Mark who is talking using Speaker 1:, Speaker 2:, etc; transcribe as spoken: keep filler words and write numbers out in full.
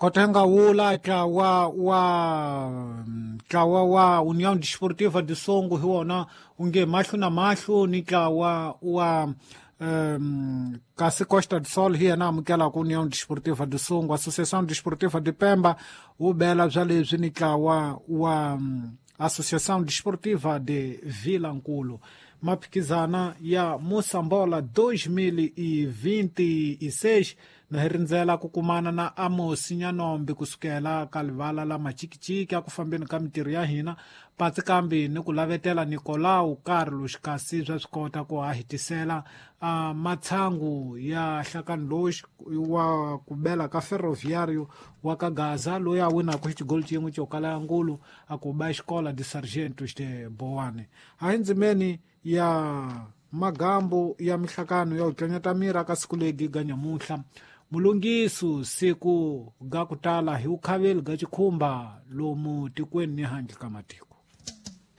Speaker 1: Kotenga wula ntlawa wa ntlawa wa União Desportiva de Songo hi wona wu nge mahlo na mahlo ni ntlawa wa um, kasi Costa do Sol hi yena amukelaka União Desportiva de Songo. Associação Desportiva de Pemba wu bela bya leswi ni ntlawa wa um, Associação Desportiva de Vilankulu. Maphikizana ya Moçambola dois mil e vinte e seis na hi rindzela ku kumana na Amos Nyanombe kusukela ka livala la Machikichiki aku fambeni ka mintirho ya hina patsi kambe ni ku lavetela Nicolau Carlos, kasi swa swi kota ku a hetisela uh, matshangu ya hlakani lowu wa ku bela ka Ferroviario wa ka Gaza loyi a winaka xigoli xin'we xo kala ya ngulu a ku ba Escola de Sargentos de Boane. A hi ndzimeni ya magambo ya mihlakano ya u tlanyata miri ka siku legi ga nyamuhla mulungisu siku ga ku tala hi vukhaveli ga chikhumba lomu tikweni ni handle ka matiko.